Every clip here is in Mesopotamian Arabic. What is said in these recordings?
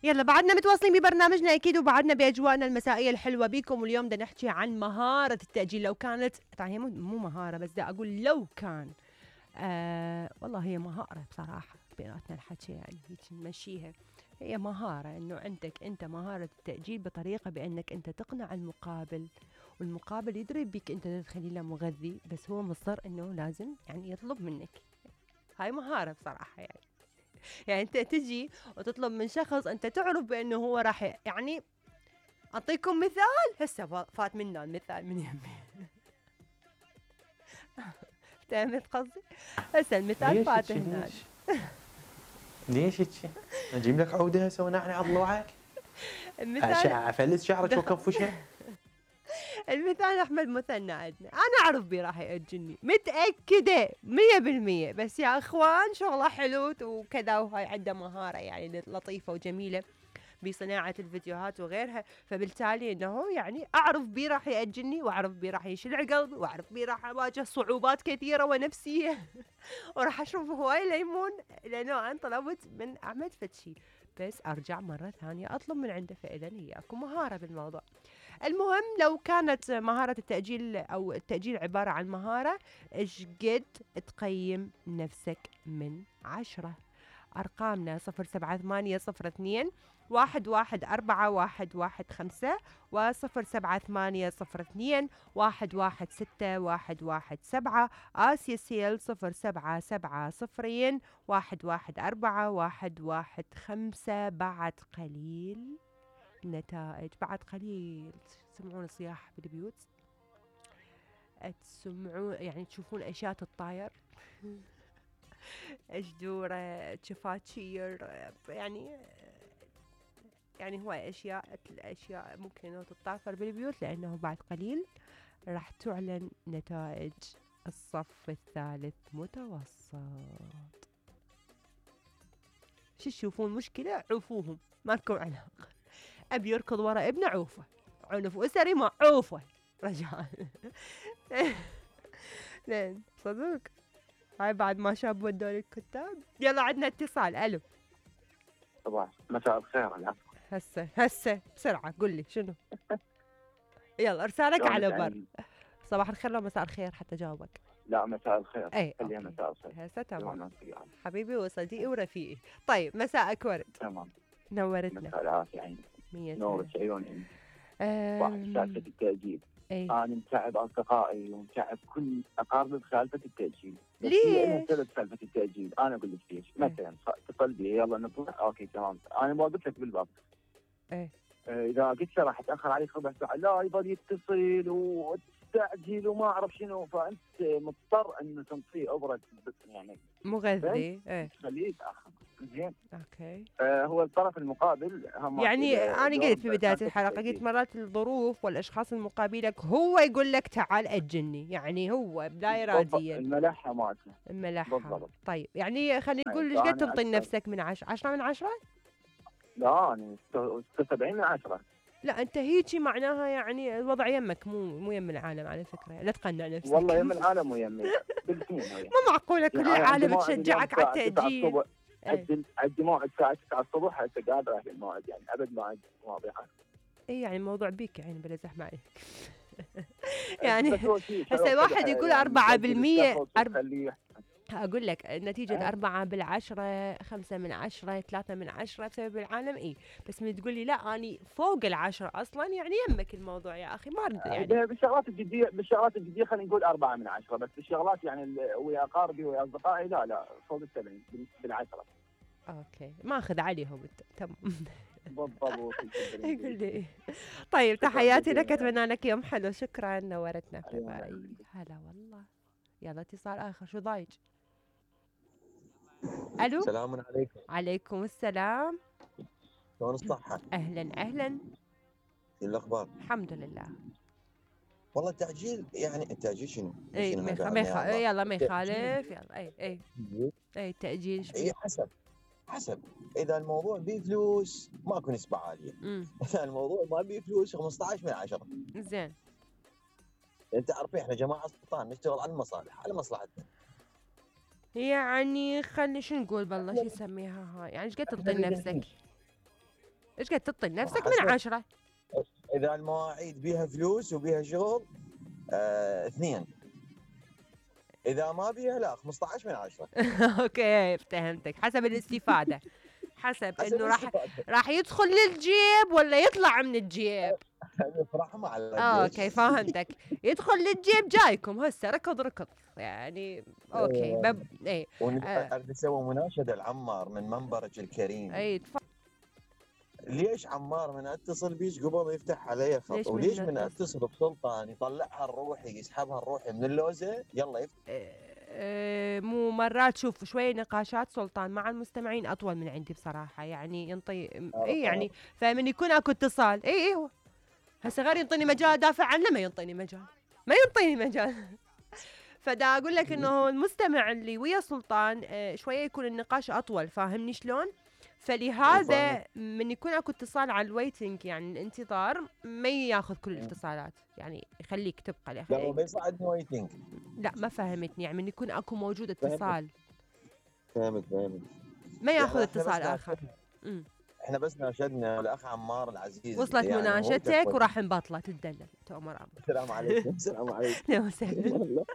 يلا بعدنا متواصلين ببرنامجنا اكيد، وبعدنا باجواءنا المسائيه الحلوه بيكم. واليوم بدنا نحكي عن مهاره التاجيل. لو كانت طبعا هي مو مهاره، بس بدي اقول لو كان والله هي مهاره بصراحه بيناتنا الحكي، يعني هيك نمشيها. هي مهاره انه عندك انت مهاره التاجيل بطريقه بانك انت تقنع المقابل، والمقابل يدري بك انت تخلي له مغذي، بس هو مصر انه لازم يعني يطلب منك. هاي مهاره بصراحه يعني انت تجي وتطلب من شخص انت تعرف بانه هو راح يعني. اعطيكم مثال هسه فات منا المثال من يمي. فهمت قصدي؟ هسه المثال ليش فات هيك هنا. ليش هيك؟ اجيب لك عوده هسه ونعني على ضلوعك؟ المثال افلس شعرك وكفشه؟ المثال احمد مثنى عندنا، انا اعرف بيه راح ياجلني متاكده 100%، بس يا اخوان شغله حلو وكذا، وهاي عنده مهاره يعني لطيفه وجميله بصناعة الفيديوهات وغيرها. فبالتالي انه يعني اعرف بيه راح يأجلني، واعرف بيه راح يشلع قلبي، واعرف بيه راح اواجه صعوبات كثيرة ونفسية وراح اشرب هواي ليمون لانه انا طلبت من احمد فتشي، بس ارجع مرة ثانية اطلب من عنده. فاذا هي اكو مهارة بالموضوع. المهم لو كانت مهارة التأجيل او التأجيل عبارة عن مهارة، ايش قد تقيم نفسك من 10؟ أرقامنا 078002 114115 و078002 116117. آسيا سيل 0770 114115. بعد قليل نتائج، بعد قليل تسمعون صياح بالبيوت، تسمعون يعني تشوفون أشياء تتطاير. أجدورة، شفاتشير، يعني هواي الأشياء ممكن إنه تتطافر بالبيوت، لأنه بعد قليل راح تعلن نتائج الصف الثالث متوسط. شو تشوفون مشكلة؟ عوفوهم، ما لكم علاقة. أبي يركض ورا ابنه عوفه، عنف أسري ما عوفه رجاء. لين صدق هاي بعد ما شاب ودوني الكتاب. يلا عندنا اتصال. الو صباح مساء الخير. العفو. هسه بسرعة قل لي شنو. يلا ارسالك على بر. صباح الخير لو مساء الخير حتى جاوبك. لا مساء الخير. اي خليها مساء الخير. هسه تمام حبيبي وصديقي ورفيقي. طيب مساءك ورد. تمام. نورتنا. مساء العافية عيني. نورك عيوني. واحد سالفة التأجيل. ايه؟ أنا متعب أصدقائي ومتعب كل أقاربي بسالفة التأجيل. ليش؟ سالفة التأجيل أنا أقول لك ليش. مثلا اتصل بي يلا نطلع أوكي تمام أنا ما قلت لك بالباب. ايه؟ إذا قلت له راح أتأخر عليك ربع ساعة لا يظل يتصل وتستعجل وما أعرف شنو، فأنت مضطر إنه تنطيه أبرة يعني مغذي. ايه خليه يتأخر. زين. اوكي. هو الطرف المقابل يعني انا قلت في بدايه الحلقه، قلت مرات الظروف والاشخاص المقابلك هو يقول لك تعال اجلني، يعني هو لا اراديا. الملحه مالته. الملحه. طيب يعني خلينا نقول ايش قد تنطي نفسك من 10؟ 10 من 10؟ لا انا 76 من 10. لا انت هيجي معناها يعني الوضع يمك مو يم العالم على فكره، لا تقنع نفسك. والله يم العالم ويمي بالاثنين. مو معقوله كل العالم تشجعك على التأجيل. عندي موعد الساعه 9 الصبح هسه قادر اهل الموعد، يعني ابد ما عندي واضحه. اي يعني الموضوع بيك يعني بلا زحمه عليك. يعني هسه واحد يقول 4%. أقول لك نتيجة 4/10، 5/10، 3/10 بسبب العالم. إيه بس من تقول لي لا أني فوق 10 أصلا، يعني يمك الموضوع يا أخي ما أرد يعني. بالشغلات الجدية خلينا نقول 4/10، بس بالشغلات يعني ويا أقاربي ويا أصدقائي لا فوق 70 بالعشرة. أوكي ما أخذ عليهم تمام. بالضبط. يقول لي طيب تحياتي لك، أتمنى لك يوم حلو. شكرا نورتنا. هلا والله. يلا اتصال آخر. شو ضايج؟ الو السلام عليكم. عليكم السلام. شلون الصحة؟ اهلا. شو الاخبار؟ الحمد لله. والله التأجيل يعني التأجيل شنو؟ اي يلا ما يخالف. يلا اي التأجيل اي حسب اذا الموضوع بيه فلوس ماكو نسبة عالية. اذا الموضوع ما بيه فلوس 15/10. زين. انت عارفين احنا جماعة سلطان نشتغل على المصالح على مصلحتنا. يعني خلي شو نقول بالله شو نسميها هاي، يعني ايش قد تنطي نفسك؟ ايش قد تعطي لنفسك حسب. من 10؟ اذا المواعيد بيها فلوس وبيها شغل 2. اذا ما بيها لا 15 من 10. اوكي فهمتك، حسب الاستفادة، حسب حسب انه الاستفادة. راح يدخل للجيب ولا يطلع من الجيب. نفرح على اوكي فهمتك، يدخل للجيب جايكم هسه ركض يعني. اوكي ايه ونقدر نسوي مناشدة لعمار من منبرك الكريم. اي ليش عمار من اتصل بيش قبل يفتح علي خط، ليش وليش من من اتصل بسلطان يطلعها الروحي يسحبها الروحي من اللوزه يلا يفتح. مو مرات شوف شوي نقاشات سلطان مع المستمعين اطول من عندي بصراحه، يعني ينطي اي يعني فمن يكون اكو اتصال اي هو هسه غير ينطيني مجال ادافع عنه، ما ينطيني مجال فدا اقول لك انه المستمع اللي ويا سلطان شويه يكون النقاش اطول، فاهمني شلون؟ فلهذا من يكون اكو اتصال على الويتنج يعني الانتظار ما ياخذ كل الاتصالات، يعني يخليك تبقى لا هو ما يصعدني ويتنج. لا ما فهمتني، يعني من يكون اكو موجود اتصال فهمت ما ياخذ يعني اتصال اخر. احنا بس ناشدنا الاخ عمار العزيز. وصلت يعني مناشدتك وراح نبطله تدلل تؤمر امر. السلام عليكم. السلام عليكم. يا وسهلا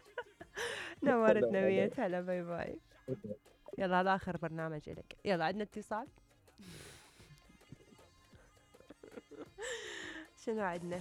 نورتنا ميت، هلا باي باي. يلا هذا اخر برنامج لك، يلا عندنا اتصال. شنو عندنا؟